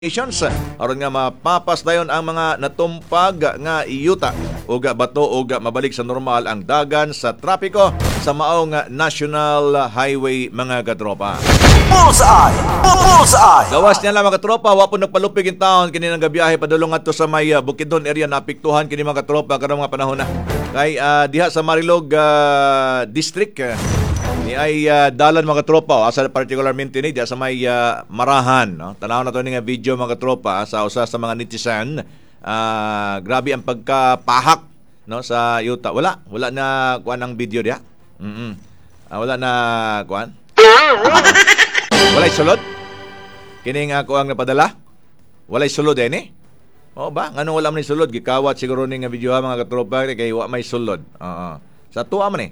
Aron nga mapapas dayon ang mga natumpag nga yuta ug bato ug mabalik sa normal ang dagan sa trapiko sa maong National Highway, mga katropa. Bullseye! Bullseye! Gawas niya lang, mga katropa, wa po nagpalupig in town kini nang gabiyahe padulong ngadto sa may Bukidnon area, naapektuhan kini, mga katropa, karong mga panahon na. Kay diha sa Marilog District ni ay dalan, mga katropa, oh, asa particularmente ni diha sa may Marahan, no? Tanaw na to ni nga video, mga katropa, sa usa sa mga netizen. Grabe ang pagkapahak, no, sa yuta. Wala na kuan ang video diha. Wala na kuan. Walay sulod? Kini nga ako ang napadala? Walay sulod eh ni? Oo ba? Ngano wala man ni sulod? Gikawat siguro ni nga video ha, mga katropa, kay wa may sulod. Oo. Sa tuwa man eh.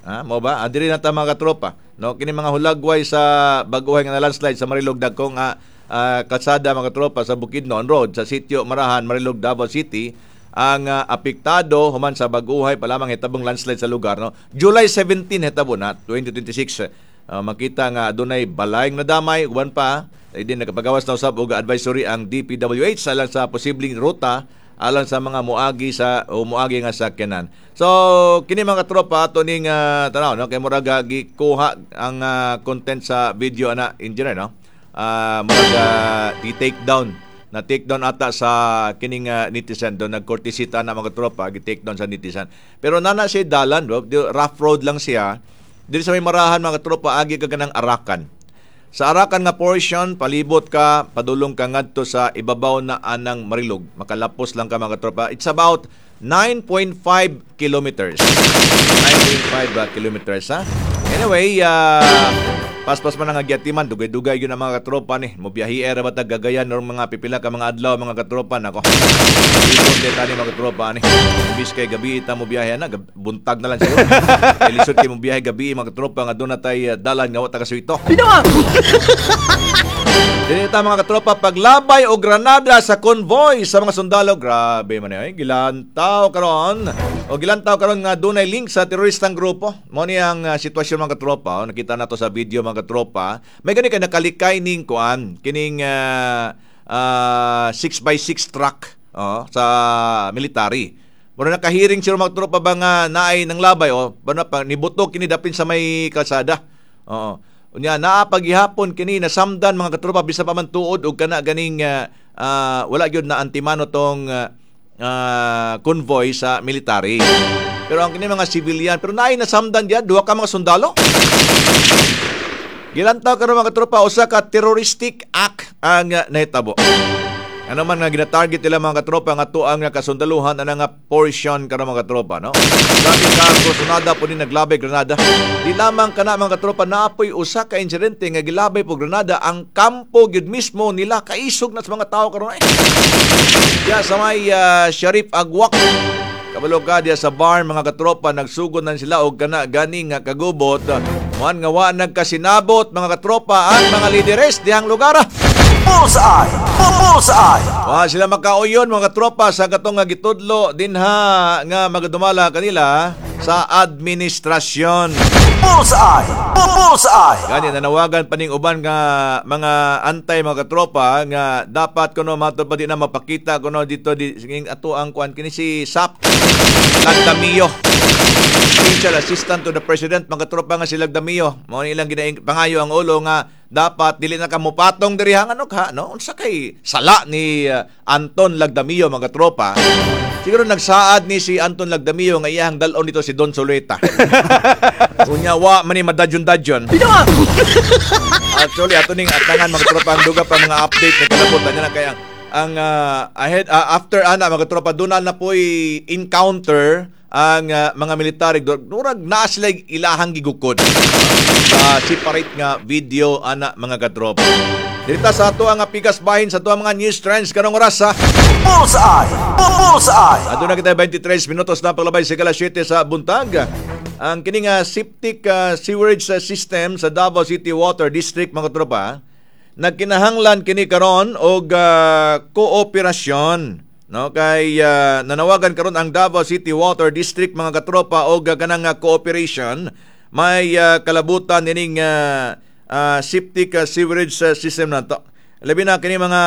Ha, mo ba? Diri na ta, mga katropa. No, kini mga hulagway sa baguhay nga landslide sa Marilog dagkong kalsada, mga katropa, sa Bukidnon Road sa sitio Marahan, Marilog, Davao City ang apektado human sa baguhay pa lamang hitabong landslide sa lugar, no. July 17 hitabo na 2026. Makita nga adunay balay nga nadamay, uban pa ay din nakapagawas na usab og advisory ang DPWH alang sa posibleng ruta alang sa mga muagi sa o muagi nga sakyanan. So kini, mga tropa, ato ning tanaw, no, kay murag gikuha ang content sa video ana, engineer, no. Murag di-take down na take down ata sa kining netizen do nagkortisita na, mga tropa, gi-take down sa netizen. Pero nana siya dalan, bro, rough road lang siya. Diri sa may Marahan, mga tropa, agi ka kanang Arakan. Sa Arakan nga portion, palibot ka, padulong ka ngadto sa ibabaw na anang Marilog. Makalapos lang ka, mga tropa. It's about 9.5 kilometers. 9.5 kilometers ha. Anyway, paspas man ang agyatiman, dugay-dugay yun ang mga katropa ni. Mobiyahe era ba ta gagayan or mga pipila ka mga adlaw, mga katropa nako. Ipon din tani, mga katropa ni. Imbis kay gabi ta mo biyahe na, buntag na lang siguro. Kay lisod kay mo biyahe gabi, mga katropa, nga doon na tay dalan nga wa ta kasuito. Dili ta, mga katropa, paglabay o granada sa convoy sa mga sundalo. Grabe man ay gilantaw karon. O gilantaw karon nga dunay link sa teroristang grupo. Mo ni ang sitwasyon, mga katropa. O, nakita nato sa video, mga katropa. May gani kay nakalikay ning kuan kining 6x6 truck, oh, sa military. Mura nakahiring sila, mga tropa, ba nga naay nang labay o ba na pa nibuto kini dapin sa may kalsada. Oo. Unya naa paghihapon kini nasamdan, mga katropa, bisa pa man tuod og kana ganing wala gyud na antimano tong convoy sa military. Pero ang kini mga civilian, pero naay nasamdan diyan duha ka mga sundalo. Gilantaw karon, mga katropa, usa ka terroristic act ang nahitabo. Ano man nga gina-target nila, mga katropa, nga tuang nga kasundaluhan ana nga portion karon, mga katropa, no. Grabe ka kursunada po ni naglabay granada. Di lamang kana, mga katropa, naapoy usa ka insidente nga gilabay po granada ang kampo gyud mismo nila, kaisog na sa mga tao karon ay. Diya sa may Sharif Agwak. Kabalo ka diya sa bar, mga katropa, nagsugod na sila og kana gani nga kagubot. Muan nga wa nagkasinabot, mga katropa, ang mga lideres dihang lugar. Bullseye! Bullseye! Wa sila makauyon, mga katropa, sa katong nga gitudlo dinha nga magadumala kanila sa administrasyon. Bullseye! Bullseye! Gani nanawagan pa ning uban nga mga antay, mga katropa, nga dapat kuno matod pa di na mapakita kuno dito di singing ato ang kuan kini si SAP Lagdamio. Special Assistant to the President, mga katropa, nga si Lagdamio. Mao ni ilang ginaing pangayo ang ulo nga dapat dili na ka mupatong diri hang ano ka, no, unsa kay sala ni Anton Lagdamio, mga katropa? Siguro nagsaad ni si Anton Lagdamio nga iyang dal-on nito si Don Soleta. Unya wa man ni madadyon-dadyon. Actually, ato ning atangan, mga tropa, ang duga pa mga update na kalabot niya na kay ang ahead after ana, mga tropa, doon na po'y encounter ang mga military. Murag naa sila ilahang gigukod sa separate nga video ana, mga katropa. Dirita sa ato ang pikas bahin sa ato ang mga news trends karong oras ha. Bullseye! Bullseye! Aduna kita 23 minutos na paglabay sa alas 7 sa buntag. Ang kini nga septic sewerage system sa Davao City Water District, mga tropa, nagkinahanglan kini karon og kooperasyon, no, kay nanawagan karon ang Davao City Water District, mga katropa, og kanang cooperation may kalabutan nining septic sewerage system nato. Labi na kini mga